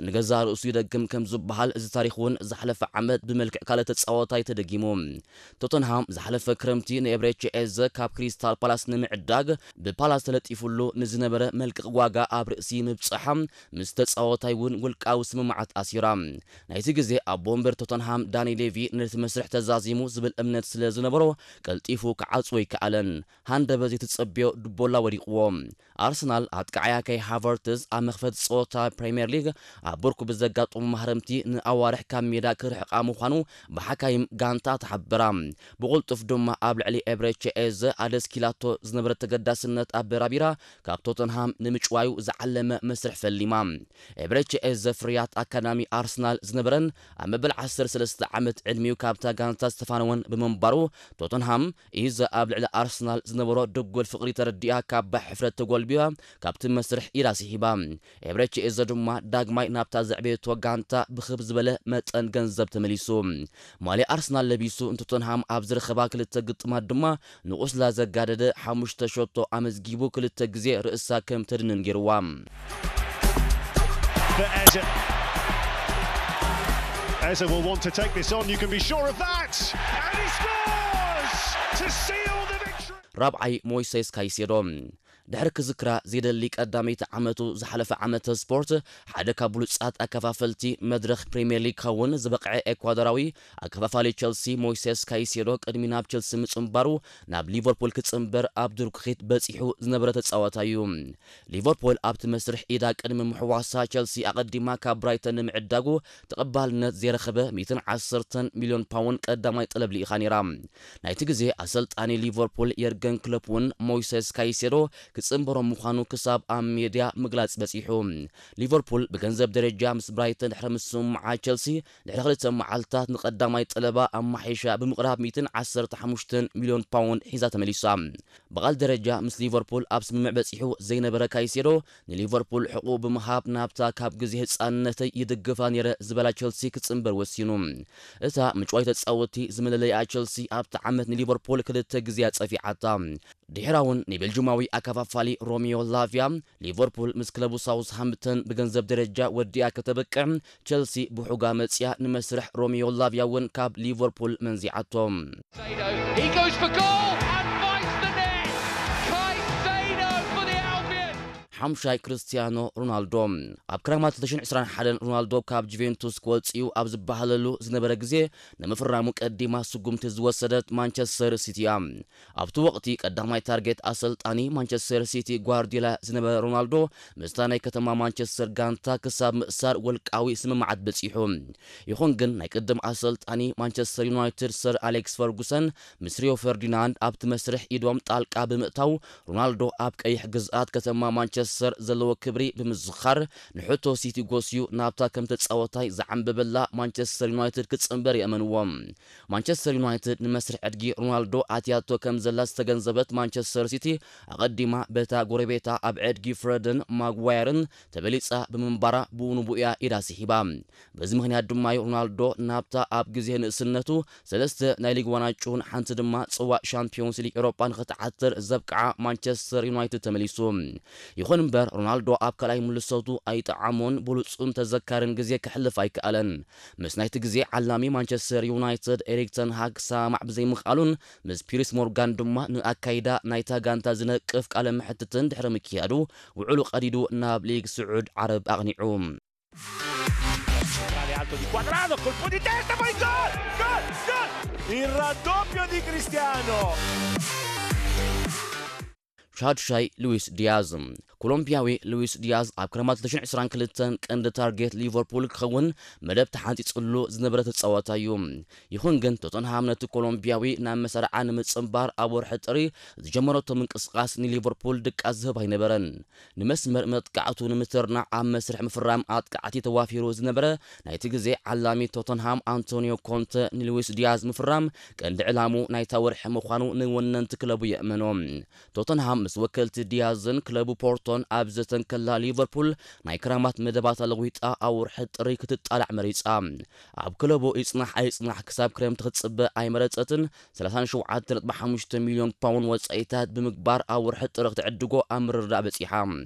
ንገዛእ ርእሱ ይደግም ከም ዝበሃል፣ እዚ ታሪኽ እውን ዝሓለፈ ዓመት ብመልክዕ ካልእ ተጻዋታይ ተደጊሙ። ቶተንሃም ዝሓለፈ ክረምቲ ንኤብሬቺ ኤዘ ካብ ክሪስታል ፓላስ ንምዕዳግ ብፓላስ ተለጢፉሉ ንዝነበረ መልቀቕ ዋጋ ኣብ ርእሲ ምብጻሓ፣ ምስ ተጻዋታይ እውን ውልቃዊ ስምምዓት ኣሲራ። ናይቲ ግዜ ኣቦ ወንበር ቶተንሃም ዳኒ ሌቪ ነቲ መስርሕ ተዛዚሙ ዝብል እምነት ስለ ዝነበሮ፣ ቀልጢፉ ክዓጽዎ ኣይከኣለን። ሃንደበት ዘይተጸብዮ ድቦላ ወዲቕዎ። ኣርሰናል ኣጥቃዓያ ካይ ሃቨርትዝ ኣብ መኽፈቲ ጸወታ ፕሪምየር ሊግ ኣብ ብርኩ ብዘጋጠሙ ማህረምቲ ንኣዋርሕ ካብ ሜዳ ክርሕቓ ምዃኑ ብሓካይም ጋንታ ተሓበራ። ብቕልጡፍ ድማ ኣብ ልዕሊ ኤብሬቺ ኤዘ ኣደስኪላቶ ዝነበረ ተገዳስነት ኣበራቢራ ካብ ቶተንሃም ንምጭዋዩ ዝዓለመ መስርሕ ፈሊማ። ኤብሬቺ ኤዘ ፍርያት ኣካዳሚ ኣርሰናል ዝነበረን ኣብ መበል ዓሰርተ ሰለስተ ዓመት ዕድሚኡ ካብታ ጋንታ ዝተፋነወን ብምንባሩ፣ ቶተንሃም ኢዘ ኣብ ልዕሊ ኣርሰናል ዝነበሮ ድጉል ፍቕሪ ተረዲኣ ካብ ባሕ ሕፍረት ተጎልቢባ ካብቲ መስርሕ ኢዳ ስሒባ። ኤብሬቺ ኤዘ ድማ ዳግማይ ናብታ ዘዕበየቶ ጋንታ ብኽብ ዝበለ መጠን ገንዘብ ተመሊሱ። ማልያ ኣርሰናል ለቢሱ ንቶተንሃም ኣብ ዝረኸባ ክልተ ግጥማት ድማ ንቑስላ ዘጋደደ ሓሙሽተ ሸቶ ኣመዝጊቡ ክልተ ግዜ ርእሳ ከም ተድንን ገይርዋ። But Eze, Eze will want to take this on, you can be sure of that. And he scores to seal the victory. ራብዓይ ሞይሴስ ካይሴዶ ድሕሪ ክዝክራ ዘይደሊ ቀዳመይቲ ዓመቱ ዝሓለፈ ዓመተ ስፖርት ሓደ ካብ ብሉጻት ኣከፋፈልቲ መድረኽ ፕሪምየር ሊግ ክኸውን ዝበቕዐ ኤኳዶራዊ ኣከፋፋሊ ቸልሲ ሞይሴስ ካይሴዶ ቅድሚ ናብ ቸልሲ ምጽንባሩ ናብ ሊቨርፑል ክጽንበር ኣብ ድርኩኺት በጺሑ ዝነበረ ተጻዋታይ እዩ። ሊቨርፑል ኣብቲ መስርሕ ኢዳ ቅድሚ ምሕዋሳ ቸልሲ ኣቐዲማ ካብ ብራይተን ንምዕዳጉ ተቐባልነት ዘይረኸበ ሚእትን ዓሰርተን ሚልዮን ፓውንድ ቀዳማይ ጠለብ ልኢኻ ነይራ። ናይቲ ግዜ ኣሰልጣኒ ሊቨርፑል የርገን ክሎፕ እውን ሞይሰስ ካይሴዶ ክጽንበሮ ምዃኑ ክሳብ ኣብ ሜድያ ምግላጽ በጺሑ። ሊቨርፑል ብገንዘብ ደረጃ ምስ ብራይተን ድሕሪ ምስምምዓ ቸልሲ ድሕሪ ክልተ መዓልታት ንቐዳማይ ጠለባ ኣማሒሻ ብምቕራብ ሚእትን ዓሰርተ ሓሙሽተን ሚልዮን ፓውንድ ሒዛ ተመሊሳ። ብቓል ደረጃ ምስ ሊቨርፑል ኣብ ስምምዕ በጺሑ ዘይነበረ ካይሴዶ ንሊቨርፑል ሕቑኡ ብምሃብ ናብታ ካብ ግዜ ህጻንነተይ ይድግፋ ነይረ ዝበላ ቸልሲ ክጽንበር ወሲኑ። እታ ምጭዋይ ተጻወቲ ዝመለለይኣ ቸልሲ ኣብቲ ዓመት ንሊቨርፑል ክልተ ግዜ ኣጸፊዓታ። ድሕራውን ንቤልጅማዊ ኣከፋፋሊ ሮሚዮ ላቪያ ሊቨርፑል ምስ ክለቡ ሳውዝሃምፕተን ብገንዘብ ደረጃ ወዲኣ ከተበቅዕ ቸልሲ ብሑጋ መጽያ ንመስርሕ ሮሚዮ ላቪያ እውን ካብ ሊቨርፑል መንዚዓቶ። He goes for goal and finds the net. Caicedo for the Albion. ሓምሻይ ክርስቲያኖ ሮናልዶ ኣብ ክረማት ክልተ ሽሕን ዕስራን ሓደን ሮናልዶ ካብ ጁቬንቱስ ክወጽእ እዩ ኣብ ዝበሃለሉ ዝነበረ ግዜ ንምፍራሙ ቀዲማ ስጉምቲ ዝወሰደት ማንቸስተር ሲቲ እያ። ኣብቲ ወቕቲ ቀዳማይ ታርጌት ኣሰልጣኒ ማንቸስተር ሲቲ ጓርዲዮላ ዝነበረ ሮናልዶ ምስታ ናይ ከተማ ማንቸስተር ጋንታ ክሳብ ምእሳር ውልቃዊ ስምምዓት በጺሑ። ይኹን ግን ናይ ቅድም ኣሰልጣኒ ማንቸስተር ዩናይትድ ሰር ኣሌክስ ፈርጉሰን ምስ ሪዮ ፈርዲናንድ ኣብቲ መስርሕ ኢዶም ጣልቃ ብምእታው ሮናልዶ ኣብ ቀይሕ ግዝኣት ከተማ ማንቸስተር ዘለዎ ክብሪ ብምዝኻር ንሕቶ ሲቲ ጎስዩ ናብታ ከም ተጻወታይ ዝዓንበበላ ማንቸስተር ዩናይትድ ክጽንበር የእመንዎ። ማንቸስተር ዩናይትድ ንመስርሕ ዕድጊ ሮናልዶ ኣትያቶ ከም ዘላ ዝተገንዘበት ማንቸስተር ሲቲ ኣቐዲማ በታ ጎረቤታ ኣብ ዕድጊ ፍረድን ማግዋየርን ተበሊጻ ብምንባራ ብኡ ንብኡ እያ ኢዳ ስሒባ። በዚ ምኽንያት ድማ እዩ ሮናልዶ ናብታ ኣብ ግዜ ንእስነቱ ሰለስተ ናይ ሊግ ዋንጫን ሓንቲ ድማ ጽዋእ ሻምፒዮንስ ሊግ ኤውሮጳ ንኽትዓትር ዘብቅዓ ማንቸስተር ዩናይትድ ተመሊሱ። ይኹን እምበር ሮናልዶ ኣብ ካልኣይ ምልሰቱ ኣይጠዓሞን ብሉጹን ተዘካርን ግዜ ከሕልፍ ኣይከኣለን። ምስ ናይቲ ግዜ ዓላሚ ማንቸስተር ዩናይትድ ኤሪክ ተን ሃግ ክሰማማዕ ብዘይምኽኣሉን ምስ ፒርስ ሞርጋን ድማ ንኣካይዳ ናይታ ጋንታ ዝነቅፍ ቃለ መሕትትን ድሕሪ ምክያዱ ውዕሉ ቀዲዱ ናብ ሊግ ስዑድ ዓረብ ኣቕኒዑ። Centrale alto di Cuadrado, colpo di testa, poi gol! Gol! Gol! Il raddoppio di Cristiano! ሻድሻይ ሉዊስ ዲያዝ። ኮሎምቢያዊ ሉዊስ ዲያዝ ኣብ ክረማት ክልተ ሽሕን ዕስራን ክልተን ቀንዲ ታርጌት ሊቨርፑል ክኸውን መደብ ተሓንጺጽሉ ዝነበረ ተጻዋታይ እዩ። ይኹን ግን ቶተንሃም ነቲ ኮሎምቢያዊ ናብ መሰርዓ ንምጽንባር ኣብ ወርሒ ጥሪ ዝጀመረቶ ምንቅስቓስ ንሊቨርፑል ድቃስ ዝህብ ኣይነበረን። ንመስመር መጥቃዕቱ ንምትርናዕ ኣብ መስርሕ ምፍራም ኣጥቃዕቲ ተዋፊሩ ዝነበረ ናይቲ ግዜ ዓላሚ ቶተንሃም ኣንቶኒዮ ኮንተ ንሉዊስ ዲያዝ ምፍራም ቀንዲ ዕላሙ ናይታ ወርሒ ምዃኑ ንወነንቲ ክለቡ የእመኖ። ቶተንሃም ምስ ወከልቲ ዲያዝን ክለቡ ፖርቶ ሶጦን ኣብ ዘተን ከላ፣ ሊቨርፑል ናይ ክራማት መደባታ ለዊጣ ኣብ ወርሒ ጥሪ ክትጣላዕ መሪጻ። ኣብ ክለቡ ይጽናሕ ኣይጽናሕ ክሳብ ክረምቲ ክትጽበ ኣይመረጸትን። ሰላሳን ሸውዓተ ነጥቢ ሓሙሽተ ሚልዮን ፓውንድ ወጻኢታት ብምግባር ኣብ ወርሒ ጥሪ ክትዕድጎ ኣብ ምርድዳእ በጺሓ።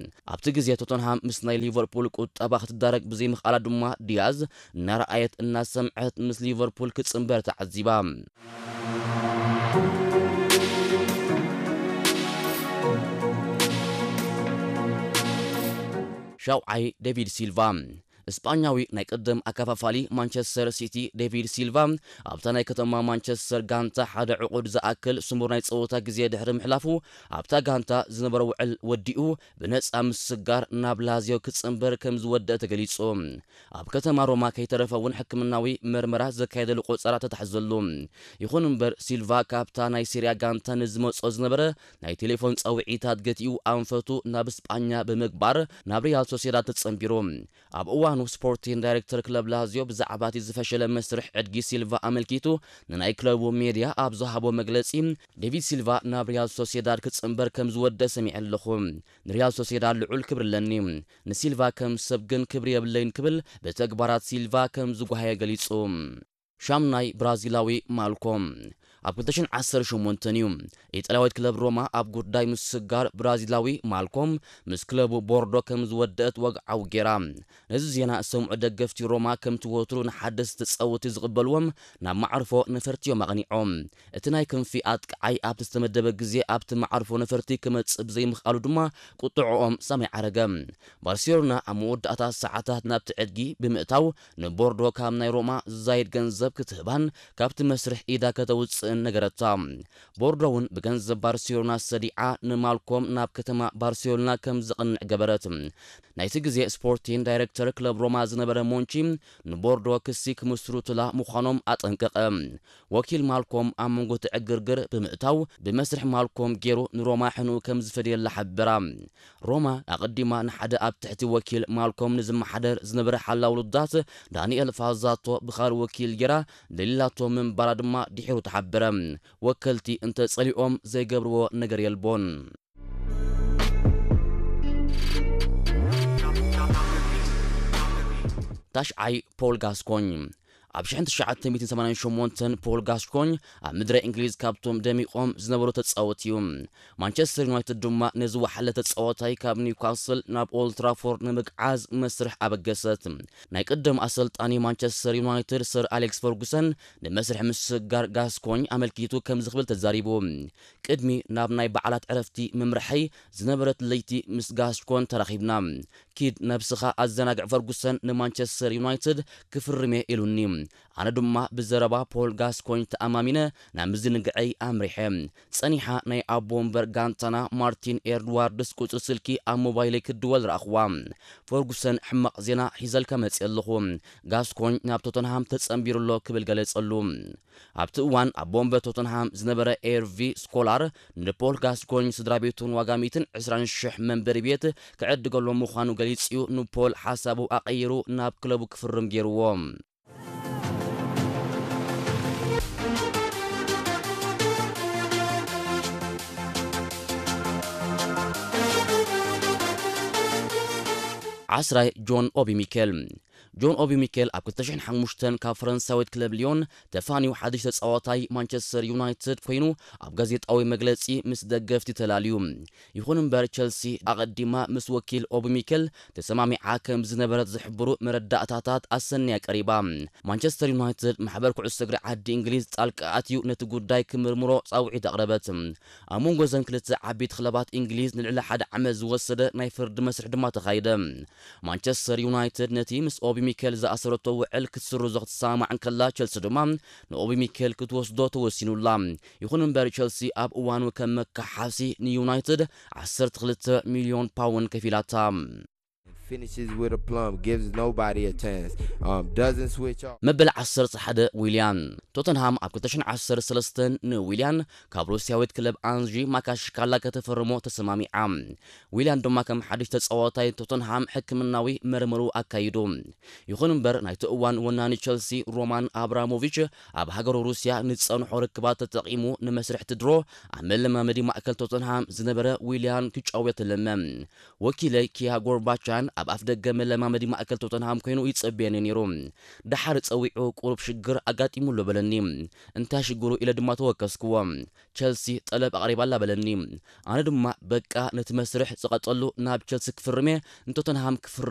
ኣብቲ ግዜ ቶተንሃም ምስ ናይ ሊቨርፑል ቁጠባ ክትዳረግ ብዘይምኽኣላ ድማ፣ ዲያዝ እናረኣየት እናሰምዐት ምስ ሊቨርፑል ክጽንበር ተዓዚባ። ሻውዓይ፣ ዴቪድ ሲልቫ። እስጳኛዊ ናይ ቅድም ኣከፋፋሊ ማንቸስተር ሲቲ ዴቪድ ሲልቫ ኣብታ ናይ ከተማ ማንቸስተር ጋንታ ሓደ ዕቑድ ዝኣክል ስሙር ናይ ጸወታ ግዜ ድሕሪ ምሕላፉ፣ ኣብታ ጋንታ ዝነበሮ ውዕል ወዲኡ ብነጻ ምስጋር ናብ ላዚዮ ክጽንበር ከም ዝወደአ ተገሊጹ። ኣብ ከተማ ሮማ ከይተረፈ እውን ሕክምናዊ መርመራ ዘካየደሉ ቆጸራ ተታሕዘሉ። ይኹን እምበር፣ ሲልቫ ካብታ ናይ ሲርያ ጋንታ ንዝመጾ ዝነበረ ናይ ቴሌፎን ጻውዒታት ገቲኡ ኣንፈቱ ናብ ስጳኛ ብምግባር ናብ ሪያል ሶሴዳድ ተጸንቢሩ። ኣብ እዋኑ ስፖርቲን ዳይሬክተር ክለብ ላዚዮ ብዛዕባ እቲ ዝፈሸለ መስርሕ ዕድጊ ሲልቫ ኣመልኪቱ ንናይ ክለቡ ሜድያ ኣብ ዝሃቦ መግለጺ፣ ዴቪድ ሲልቫ ናብ ሪያል ሶሴዳድ ክጽንበር ከም ዝወደ ሰሚዐ ኣለኹ። ንሪያል ሶሴዳድ ልዑል ክብሪ ኣለኒ። ንሲልቫ ከም ሰብ ግን ክብሪ የብለይን ክብል ብተግባራት ሲልቫ ከም ዝጓሃየ ገሊጹ። ሻምናይ፣ ብራዚላዊ ማልኮም ኣብ ክልተ ሽሕን ዓሰርተ ሸሞንተን እዩ። ኢጣልያዊት ክለብ ሮማ ኣብ ጉዳይ ምስጋር ብራዚላዊ ማልኮም ምስ ክለቡ ቦርዶ ከም ዝወደአት ወግዓዊ ጌራ። ነዚ ዜና ዝሰምዑ ደገፍቲ ሮማ ከምቲ ወትሩ ንሓደስቲ ተጻወትቲ ዝቕበልዎም ናብ መዓርፎ ነፈርቲ እዮም ኣቕኒዖም። እቲ ናይ ክንፊ ኣጥቃዓይ ኣብቲ ዝተመደበ ግዜ ኣብቲ መዓርፎ ነፈርቲ ክመጽእ ብዘይምኽኣሉ ድማ ቁጥዕኦም ሰማይ ዓረገ። ባርሴሎና ኣብ መወዳእታ ሰዓታት ናብቲ ዕድጊ ብምእታው ንቦርዶ ካብ ናይ ሮማ ዝዛይድ ገንዘብ ክትህባን ካብቲ መስርሕ ኢዳ ከተውጽእን ነገረታ። ቦርዶ እውን ብገንዘብ ባርሴሎና ሰዲዓ ንማልኮም ናብ ከተማ ባርሴሎና ከም ዘቕንዕ ገበረት። ናይቲ ግዜ ስፖርቲን ዳይሬክተር ክለብ ሮማ ዝነበረ ሞንቺ ንቦርዶ ክሲ ክምስርቱላ ምዃኖም ኣጠንቀቐ። ወኪል ማልኮም ኣብ መንጎ እቲ ዕግርግር ብምእታው ብመስርሕ ማልኮም ገይሩ ንሮማ ሕንኡ ከም ዝፈደየላ ሓበራ። ሮማ ኣቐዲማ ንሓደ ኣብ ትሕቲ ወኪል ማልኮም ንዝመሓደር ዝነበረ ሓላው ውሉዳት ዳንኤል ፋዛቶ ብኻልእ ወኪል ጌራ ደሊላቶ ምንባራ ድማ ድሒሩ ተሓበረ። ወከልቲ እንተጸሊኦም ዘይገብርዎ ነገር የልቦን። ታሽዓይ፣ ፖል ጋስኮኝ። ኣብ ሽሕን ትሽዓተ ሚእትን ሰማንያን ሸሞንተን ፖል ጋስኮኝ ኣብ ምድረ እንግሊዝ ካብቶም ደሚቖም ዝነበሩ ተጻወቲ እዩ። ማንቸስተር ዩናይትድ ድማ ነዚ ወሓለ ተጻዋታይ ካብ ኒውካስል ናብ ኦልድ ትራፎርድ ንምግዓዝ መስርሕ ኣበገሰት። ናይ ቅድም ኣሰልጣኒ ማንቸስተር ዩናይትድ ሰር ኣሌክስ ፈርጉሰን ንመስርሕ ምስጋር ጋስኮኝ ኣመልኪቱ ከምዚ ክብል ተዛሪቡ። ቅድሚ ናብ ናይ በዓላት ዕረፍቲ ምምርሐይ ዝነበረት ለይቲ ምስ ጋስኮን ተራኺብና። ኪድ ነብስኻ ኣዘናግዕ፣ ፈርጉሰን ንማንቸስተር ዩናይትድ ክፍርም እየ ኢሉኒ። ኣነ ድማ ብዘረባ ፖል ጋስኮኝ ተኣማሚነ ናብ ምዝንግዐይ ኣምሪሐ። ጸኒሓ ናይ ኣቦ ወንበር ጋንታና ማርቲን ኤድዋርድስ ቁጽሪ ስልኪ ኣብ ሞባይለይ ክድወል ረኣኽዋ። ፈርጉሰን፣ ሕማቕ ዜና ሒዘልካ መጽየ ኣለኹ። ጋስኮኝ ናብ ቶተንሃም ተጸንቢሩ ኣሎ ክብል ገለጸሉ። ኣብቲ እዋን ኣቦ ወንበር ቶተንሃም ዝነበረ ኤርቪ ስኮላር ንፖል ጋስኮኝ ስድራ ቤቱን ዋጋ ሚእትን ዕስራን ሽሕ መንበሪ ቤት ክዕድገሎም ምዃኑ ገሊጹ እዩ። ንፖል ሓሳቡ ኣቐይሩ ናብ ክለቡ ክፍርም ገይርዎ። ዓስራይ፣ ጆን ኦቢ ሚኬል። ጆን ኦቢ ሚኬል ኣብ ክልተ ሽሕን ሓሙሽተን ካብ ፈረንሳዊት ክለብ ሊዮን ተፋንዩ ሓድሽ ተጻዋታይ ማንቸስተር ዩናይትድ ኮይኑ ኣብ ጋዜጣዊ መግለጺ ምስ ደገፍቲ ተላልዩ። ይኹን እምበር፣ ቸልሲ ኣቐዲማ ምስ ወኪል ኦቢ ሚኬል ተሰማሚዓ ከም ዝነበረት ዝሕብሩ መረዳእታታት ኣሰንያ ቀሪባ። ማንቸስተር ዩናይትድ ማሕበር ኩዕሶ እግሪ ዓዲ እንግሊዝ ጣልቃ ኣትዩ ነቲ ጉዳይ ክምርምሮ ጻውዒት ኣቕረበት። ኣብ መንጎ እዘን ክልተ ዓበይቲ ክለባት እንግሊዝ ንልዕሊ ሓደ ዓመት ዝወሰደ ናይ ፍርዲ መስርሕ ድማ ተኻይደ። ማንቸስተር ዩናይትድ ነቲ ምስ ኦቢ ሚኬል ዝኣሰረቶ ውዕል ክትስርዞ ክትሰማማዕ እንከላ፣ ቸልሲ ድማ ንኦቢ ሚኬል ክትወስዶ ተወሲኑላ። ይኹን እምበር፣ ቸልሲ ኣብ እዋኑ ከም መካሓሲ ንዩናይትድ ዓሰርተ ክልተ ሚልዮን ፓውንድ ከፊላታ። Finishes with a plum, gives nobody a chance. Um, doesn't switch off. መበል ዓሰርተ ሓደ ዊልያን። ቶተንሃም ኣብ ክልተ ሽሕን ዓሰርተ ሰለስተን ንዊልያን ካብ ሩስያዊት ክለብ ኣንጂ ማካሽካላ ከተፈርሞ ተሰማሚዓ። ዊልያን ድማ ከም ሓድሽ ተጻዋታይ ቶተንሃም ሕክምናዊ መርመሩ ኣካይዱ። ይኹን እምበር ናይቲ እዋን ወናኒ ቸልሲ ሮማን ኣብራሞቪች ኣብ ሃገሩ ሩስያ ንጸንሖ ርክባት ተጠቒሙ ንመስርሕ ትድሮ ኣብ መለማመዲ ማእከል ቶተንሃም ዝነበረ ዊልያን ክጫወት ለመ። ወኪለይ ኪያ ጎርባቻን ኣብ ኣፍ ደገ መለማመዲ ማእከል ቶተንሃም ኮይኑ ይጸብየኒ ነይሩ። ደሓር ጸዊዑ ቁሩብ ሽግር ኣጋጢሙ ኣሎ በለኒ። እንታይ ሽግሩ ኢለ ድማ ተወከስክዎ። ቸልሲ ጠለብ ኣቕሪባ ኣላ በለኒ። ኣነ ድማ በቃ ነቲ መስርሕ ዝቐጸሉ ናብ ቸልሲ ክፍርም እየ ንቶተንሃም ክፍርም